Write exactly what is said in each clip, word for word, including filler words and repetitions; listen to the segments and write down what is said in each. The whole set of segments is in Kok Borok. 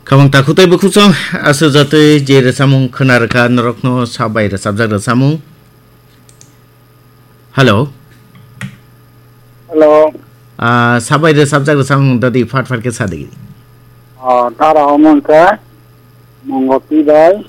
Khamang takhuk tei bukhuk song, aswk jatwi je rwchapmung khwna rwkha norokno sabai rwchapjak rwchapmung. Hello. Hello. Ah, sabai rwchapjak rwchapmung dodi phat phat khe sadi. Ah, dara omo hwnkhe Mongoti bai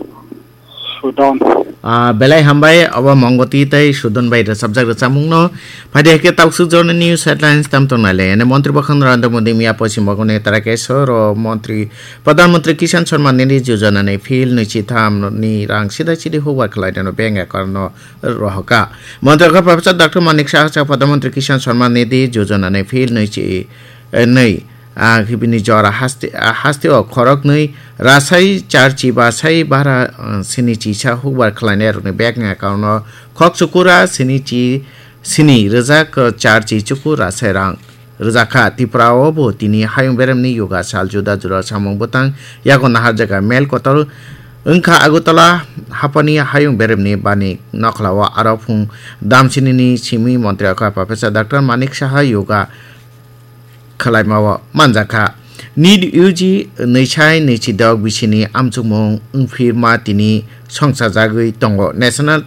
Sudon. Ah, belai hambai, obo Mongoti tei Sudon bai rwchapjak rwchapmungno. Phaidi hai khe taksuk jorni news headlines tam tongnai le. Ene Montri Bwkhang Narendra Modi miya Poschim Bongoni Tarakeswar o Montri, Pradhan Mantri Kisan Samman Nidhi Yojana ni phil nwichi tham ni rang sida sidi hukbar khlainano bank account no rohorkha. Montri kha Professor Doctor Manik Saha sa Pradhan Mantri Kisan Samman Nidhi Yojana ni phil nwichi, eh, nwi, ah, bini jora haste, ah, haste o khoroknwi rasai charchi basai bara, ah, sini chisa hukbar khlainai rokni bank account no khok chukura sini chi sini rwjak, ah, charchi chuku rasai rang rwjakha. Tripura o bo tini hayung beremni yoga sal juda juda samung bwtang yago naharjak mel kotor wngkha Agartala haphani hayung beremni bani nokhlao aro phung damsinini simi montri kha Professor Doctor Manik Saha yoga khwlaimao manjakha. NEET U G nwi sai nwi chi dok bisini amchukmung wngphirma tini songsajagwi tongo. National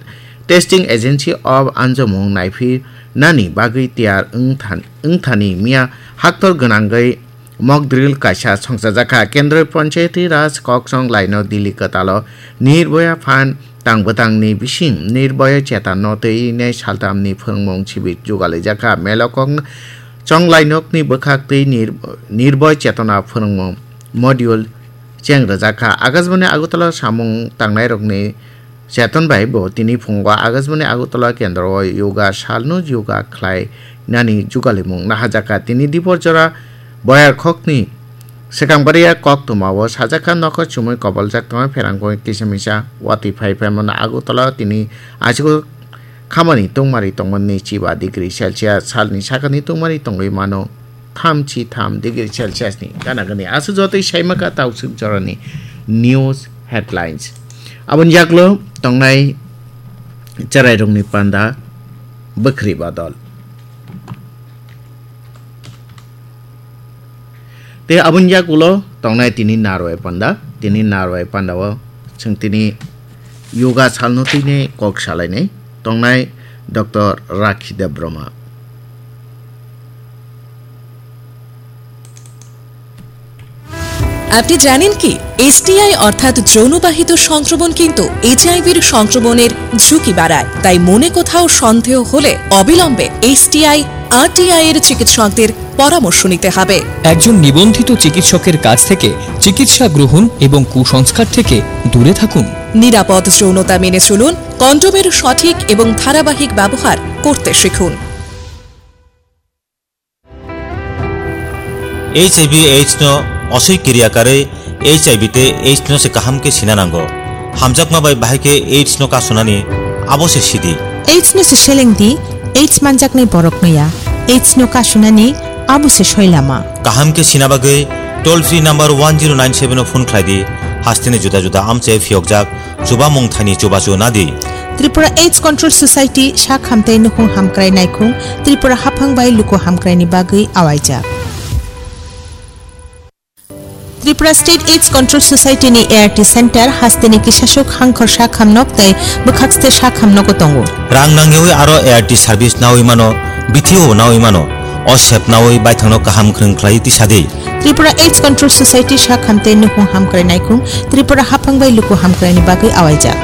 Testing Agency of anjomung naiphi nani bagwi tiyar wngthan-, wngthani miya haktor gwnangwi mock drill kaisa songchajakha. Kendroi Panchayati Raj koksong laino Delhi kwtalo Nirbhaya Fund tang bwtangni bising Nirbhaya Chetan no twi nai saltamni phwrwngmung sibir jugalijakha. Melo kok chong lainokni bwkhak twi Nir-, Nirbhaya Chetana phwrwngmung module cheng rwjakha. Akashbani Agartala samung tangnairokni Chetan bai bo tini phungo Akashbani Agartala kendro o yoga salno yoga khlai nani jugalimung naharjakha. Tini dipor jora boyar khokni swkang baria koktwma o sajakha nokho chumui koboljak tongma pherang kisa misa watwi phai phaimano Agartala tini aswk khamani tungmari tongmani chiba degree Celsius salni sakani tungmari tongwi mano. Thamchi tham degree Celsius ni gana gani. Aswk jotoi saimaka tauswk jorani news headlines. Aboni yaklo tongnai cherairokni panda bwkhri badol. Tei aboni yakulo tongnai tini narwai panda, tini narwai panda o chwng tini yoga salno tini kok salainai tongnai Doctor Rakhi Debbarma. আপনি জানেন কি, এসটিআই অর্থাৎ যৌনবাহিত সংক্রমণ কিন্তু এইচআইভির সংক্রমণের ঝুঁকি বাড়ায়? তাই মনে কোথাও সন্দেহ হলে অবিলম্বে এসটিআই আরটিআই এর চিকিৎসকদের পরামর্শ নিতে হবে। একজন নিবন্ধিত চিকিৎসকের কাছ থেকে চিকিৎসা গ্রহণ এবং কুসংস্কার থেকে দূরে থাকুন। নিরাপদ যৌনতা মেনে চলুন, কন্ডোমের সঠিক এবং ধারাবাহিক ব্যবহার করতে শিখুন। H I V AIDS no osoi kiriya karwi H I V tei AIDS no se kaham khe sina nango. Hamjakma bai bahai khe AIDS no kasunani abo se sidi. AIDS no se seleng di, AIDS manjaknai borok no ya. AIDS no kasunani abo se soi lama. Kaham khe sina bagwi toll free number one zero nine seven o phone khlai di. Hasteni juda juda amchai phiyokjak chubamung thani chubachu nadi. Tripura AIDS Control Society sak hamtai nukhung hamkrai naikhung Tripura haphang bai luku hamkraini bagwi awaijak. Tripura State AIDS Control Society ni A R T Center hasteni kisasuk hangkhor sak hamnok tei bwkhakste sak hamnogo tongo. Rang nangyawi aro A R T service nawi mano, bithi o nawi mano, o sep nawi baithangno kaham kwrwng khlai tisa di. Tripura AIDS Control Society sak hamtei nukhung hamkrai naikhung Tripura haphang bai luku hamkraini bagwi awaijak.